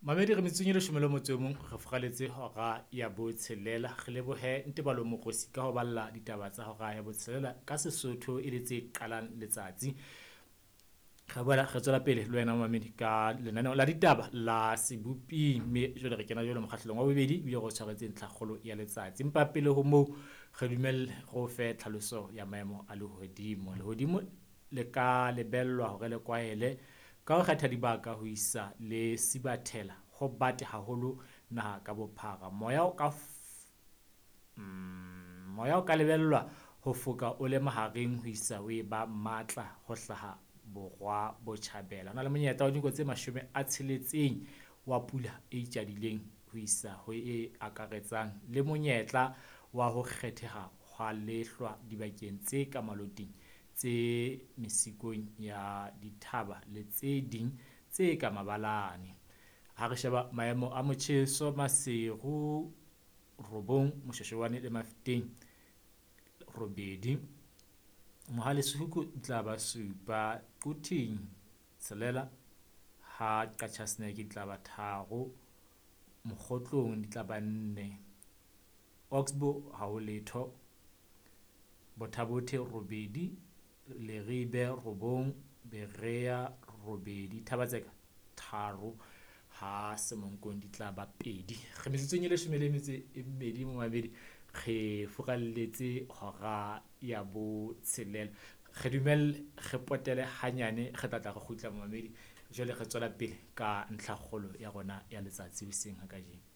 Mamedi re metsotsong e leshome le motso o mong re furaletse hora ya botshelela. Re lebohe Ntebalo Mokgosi ka ho balla ditaba tsa hora ya botshelela ka Sesotho e le tse qalang letsatsi. Re boela re tswela pele le wena momamedi ka lenaneo la ditaba la seboping, mme jwale re kena jwale mokgahlelong wa bobedi ebile re o tshwaretse ntlhakgolo ya letsatsi. Empa pele ho moo re dumelle re o fe tlhaloso ya maemo a lehodimo. Lehodimo le ka lebellwa hore le kwahele ka ho kgetha dibaka ho isa le sibathela ho bate haholo naha ka bophara. Moya o ka moya o ka lebellwa ho foka o le mahareng ho isa ho e ba matla ho hlaha borwa botjhabela. Ho na le monyetla wa dinako tse 60 wa pula e itjadileng ho isa ho e akaretsang le monyetla wa ho kgetheha hwa lehlwa dibakeng tse ka maloting tse mesikong ya dithaba le tse ding tse ka mabalane. Ha re sheba maemo a motjheso Maseru 9, Moshweshwane le Mafeteng 8, Mohale's Hoek e tla ba 7, Quthing 6, ha Qacha's Nek di tla ba 3, Mokgotlong di tla ba 4, Oxbow ha ho letho, Botha Bothe 8, Leribe 9, Berea 8, Thaba-Tseka 3, ha Semonkong di tla ba 2. Re metsotsong e leshome le metso e mmedi momamedi, re furaletse hora ya botshelela. Re dumelle re potele hanyane, re tla tla re kgutla momamedi. Jwale re tswela pele ka ntlhakgolo ya rona ya letsatsi hoseng ha kajeno.